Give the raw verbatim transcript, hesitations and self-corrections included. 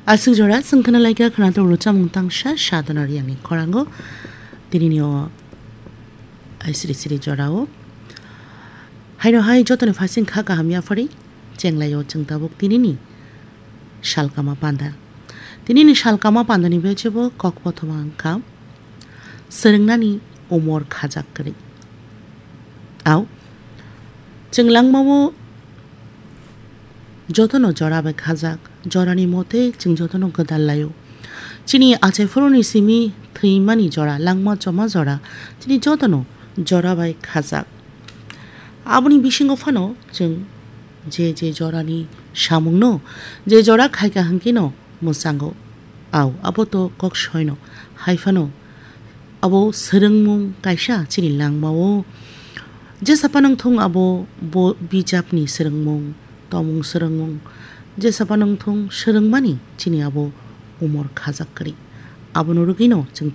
Aswk jora chwng khna laikha khwnathok rwchapmung tangsa sadona riyangni khorango tinini o aisiri siri jorao. Haino hai jotoni phasing kha kaham yaphari chenglaio chwng tabuk tinini salkama panda. Tinini salkama pandani bechebo kok kothoma wngkha swrwngnani umor khajak kwrwi. Au, chwng langmao jotono jora bai khajak, jorani mote chwng jotono gwdal laio. Chini achai phuruni simi thwimani jora, langma choma jora, chini jotono jora bai khajak. Aboni bisingo phano chwng je je jorani samungno, je jora khaika hwnkhe no mwchango. Au, abo to kok soino. Hai phano abo swrwngmung kaisa chini langmao. Jesa phano wngthung abo bo bijapni swrwngmung, tomung swrwngmung. Jesa phano wngthung swrwngmani chini abo umor khajak kwrwi. Abono rwgwino chwng